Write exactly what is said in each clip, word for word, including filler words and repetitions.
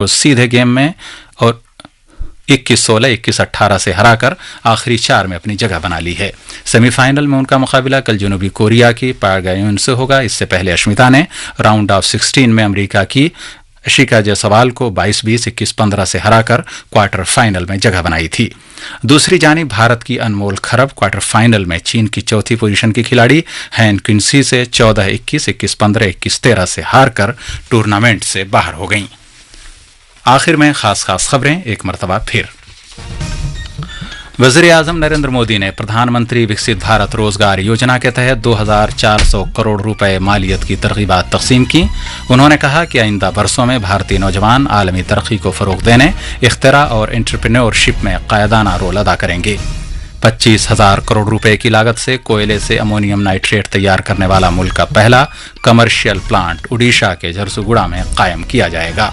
को सीधे गेम में और इक्कीस सोलह, इक्कीस अठारह से हराकर आखिरी चार में अपनी जगह बना ली है। सेमीफाइनल में उनका मुकाबला कल जनूबी कोरिया की पागायोन से होगा। इससे पहले अश्मिता ने राउंड ऑफ सिक्सटीन में अमेरिका की अशिका जायसवाल को बाईस बीस, इक्कीस पन्द्रह से हराकर क्वार्टर फाइनल में जगह बनाई थी। दूसरी जानी भारत की अनमोल खरब क्वार्टर फाइनल में चीन की चौथी पोजीशन की खिलाड़ी हैन क्विंसी से चौदह इक्कीस, इक्कीस पन्द्रह, इक्कीस तेरह से हारकर टूर्नामेंट से बाहर हो गईं। आखिर में खास खास खबरें एक मरतबा फिर। वजीर आजम नरेंद्र मोदी ने प्रधानमंत्री विकसित भारत रोजगार योजना के तहत दो हज़ार चार सौ करोड़ रुपए मालियत की तरगीबात तकसीम की। उन्होंने कहा कि आइंदा बरसों में भारतीय नौजवान आलमी तरक्की को फरोग देने, इख्तरा और एंटरप्रेन्योरशिप में कायदाना रोल अदा करेंगे। पच्चीस हज़ार करोड़ रुपए की लागत से कोयले से अमोनियम नाइट्रेट तैयार करने वाला मुल्क का पहला कमर्शियल प्लांट उड़ीसा के झरसुगुड़ा में कायम किया जाएगा।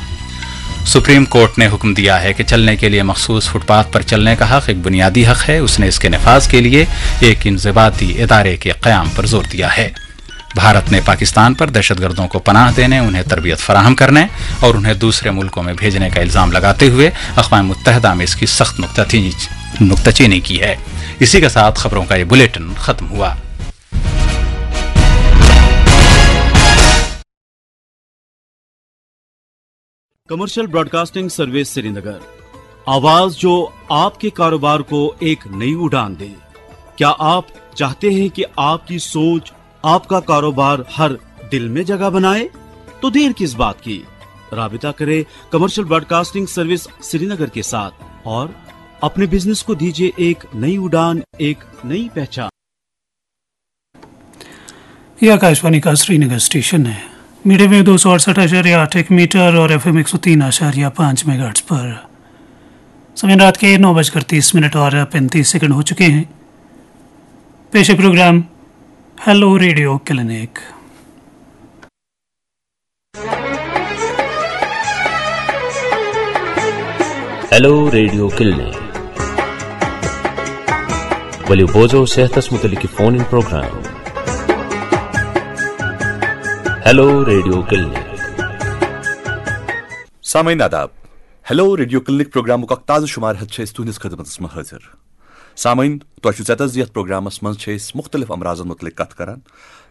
सुप्रीम कोर्ट ने हुक्म दिया है कि चलने के लिए मखसूस फुटपाथ पर चलने का हक एक बुनियादी हक है। उसने इसके नफाज के लिए एक इंजबाती इदारे के क़याम पर जोर दिया है। भारत ने पाकिस्तान पर दहशतगर्दों को पनाह देने, उन्हें तरबियत फराहम करने और उन्हें दूसरे मुल्कों में भेजने का इल्ज़ाम लगाते हुए अकवाम मुत्तहदा में इसकी सख्त नुकताचीनी नुकताचीनी की है। इसी के साथ खबरों का ये बुलेटिन खत्म हुआ। कमर्शियल ब्रॉडकास्टिंग सर्विस श्रीनगर, आवाज जो आपके कारोबार को एक नई उड़ान दे। क्या आप चाहते हैं कि आपकी सोच, आपका कारोबार हर दिल में जगह बनाए? तो देर किस बात की, राबिता करें कमर्शियल ब्रॉडकास्टिंग सर्विस श्रीनगर के साथ और अपने बिजनेस को दीजिए एक नई उड़ान, एक नई पहचान। ये आकाशवाणी का श्रीनगर स्टेशन है। मीडियम वेव दो सौ अड़सठ आशार्य आठ एक मीटर और एफ एम एक सौ तीन आशार्य पाँच मेगाहर्ट्ज पर। समय रात के नौ बजकर तीस मिनट और पैंतीस सेकंड हो चुके हैं। पेश है programme hello radio clinic. Hello radio clinic. ؤلِو بوزو صحتس متعلق phone in programme. Hello radio clinic. سامعین آداب۔ ہیلو ریڈیو کلنک پروگرامُک اکھ تازٕ شمارٕ ہیتھ چھِ أسۍ تُہنٛدِس خدمتس منٛز حٲضِر۔ سامعین، تۄہہِ چھُو ژےٚ تس یتھ پروگرامس منٛز چھِ أسۍ مختلف امراضن متعلق کتھ کران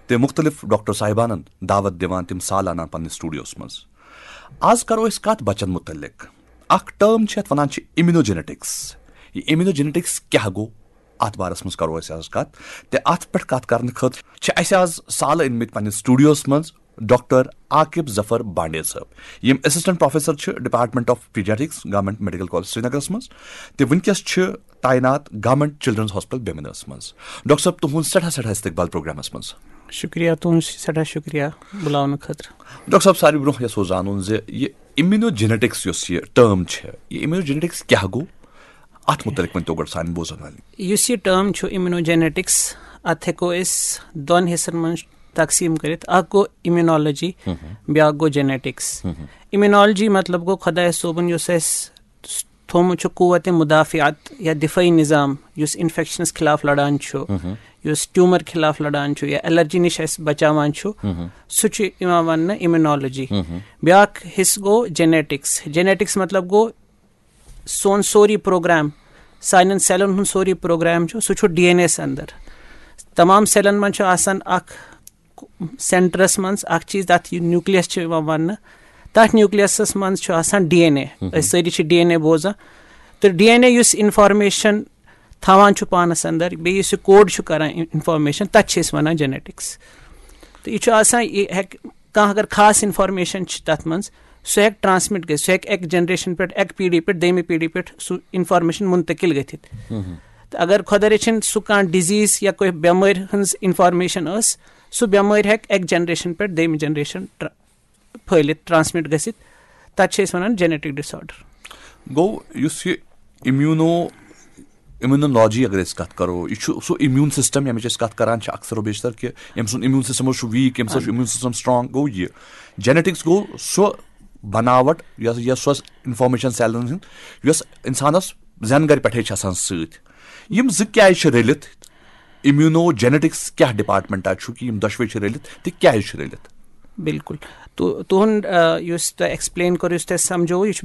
تہٕ مختلف ڈاکٹر صاحبانن دعوت دِوان تِم سالانہ پننِس سٹوڈیوس منٛز۔ آز کرو أسۍ کتھ بچن متعلق۔ اکھ ٹرم چھِ یتھ ونان چھِ امیونوجینیٹکس۔ یہِ امیونوجینیٹکس کیٛاہ گوٚو؟ اتھ بارس منٛز کرو أسۍ آز کتھ۔ تہٕ اتھ پٮ۪ٹھ کتھ کرنہٕ خٲطرٕ چھِ اسہِ آز سالہٕ أنمٕتۍ پننِس سٹوڈیوس منٛز ڈاکٹر عاقب ظفر بانڈے صٲب، یِم اسسٹنٹ پروفیسر چھِ department of paediatrics, government medical college سرینگرس منٛز، تہٕ وٕنکیٚس چھِ تعینات گورنمنٹ چلڈرنز ہاسپٹل بیمنس منٛز۔ ڈاکٹر صٲب، تُہُنٛد سٮ۪ٹھاہ سٮ۪ٹھاہ استقبال پروگرامس منٛز۔ شُکریہ، تُہُنٛد سٮ۪ٹھاہ شُکریہ بُلاونہٕ خٲطرٕ۔ ڈاکٹر صٲب، ساروی برونٛہہ یژھو زانُن زِ یہِ امیونوجینیٹکس یۄس یہِ ٹرم چھِ، یہِ امیونوجینیٹکس کیٛاہ گوٚو؟ اتھ متعلق ؤنۍ تو گۄڈٕ سانٮ۪ن بوزن والٮ۪ن۔ یُس یہِ ٹرم چھُ امیونوجینیٹکس، اتھ ہٮ۪کو أسۍ دۄن حصن منٛز تقسیٖم کٔرِتھ۔ اکھ گوٚو امیونالوجی، بیٛاکھ گوٚو جینیٹکس۔ امیونالوجی مطلب گوٚو خۄداے صٲبُن یُس اَسہِ تھوٚومُت چھُ قوت مدافعت یا دفٲعی نظام، یُس انفیکشنس خلاف لڑان چھُ، یُس ٹیومر خلاف لڑان چھُ یا الرجی نِش اَسہِ بچاوان چھُ، سُہ چھُ یِوان وننہٕ امیونالوجی۔ بیٛاکھ حصہٕ گوٚو جینیٹکس۔ جینیٹکس مطلب گوٚو سون سورُے پروگرام، سانٮ۪ن سیلن ہُنٛد سورُے پروگرام چھُ، سُہ چھُ ڈی این اے یس اندر۔ تمام سیلن منٛز چھُ آسان اکھ سینٹرس منٛز اکھ چیٖز، تتھ یہِ نیوکلیس چھُ یِوان وننہٕ۔ تتھ نیوکلیسس منٛز چھُ آسان ڈی این اے۔ أسۍ سٲری چھِ ڈی این اے بوزان۔ تہٕ ڈی این اے یُس انفارمیشن تھاوان چھُ پانس اندر، بیٚیہِ یُس یہِ کوڈ چھُ کران انفارمیشن، تتھ چھِ أسۍ ونان جینیٹکس۔ تہٕ یہِ چھُ آسان، یہِ ہیٚکہِ کانٛہہ اگر خاص انفارمیشن چھِ تتھ منٛز، سُہ ہیٚکہِ ٹرانسمٹ گٔژھِتھ، سُہ ہیٚکہِ اکہِ جنریشن پٮ۪ٹھ، اکہِ پیٖڑی پٮ۪ٹھ دوٚیمہِ پیٖڑی پٮ۪ٹھ سُہ انفارمیشن منتقل گٔژھِتھ۔ تہٕ اگر خۄدا رٔچھِنۍ سُہ کانٛہہ ڈِزیٖز یا کُنہِ بٮ۪مٲرۍ ہٕنٛز انفارمیشن ٲس، سُہ بٮ۪مٲرۍ ہیٚکہِ اکہِ جنریشن پٮ۪ٹھ دوٚیمہِ جنریشن ٹرا-، پھٲلِتھ، ٹرانسمٹ گٔژھِتھ۔ تتھ چھِ أسۍ ونان جینیٹک ڈس آرڈر۔ گوٚو یُس یہِ امیونو امیونولوجی اگر أسۍ کتھ کرو، یہِ چھُ سُہ امیون سسٹم ییٚمِچ أسۍ کتھ کران چھِ اکثر و بیشتر کہِ أمۍ سُنٛد امیون سسٹم اوس چھُ ویٖک، أمِس اوس امیون سسٹم سٹرانگ۔ گوٚو یہِ جینیٹکس گوٚو سُہ بناوٹ یۄس، یۄس سۄ انفارمیشن سیلن ہٕنٛز یۄس انسانس زٮ۪نہٕ گرِ پٮ۪ٹھے چھِ آسان سۭتۍ۔ یِم زٕ کیازِ چھِ رٔلِتھ؟ امیونو جینیٹکس کیٛاہ ڈپارٹمنٹا چھُ کہِ یِم دۄشوے چھِ رٔلِتھ تہٕ کیازِ چھِ رٔلِتھ؟ بِلکُل۔ تُ-، تُہُنٛد، آ، یُس تۄہہِ explain کوٚر، یُس تۄہہِ سَمجھووُ، یہِ چھُ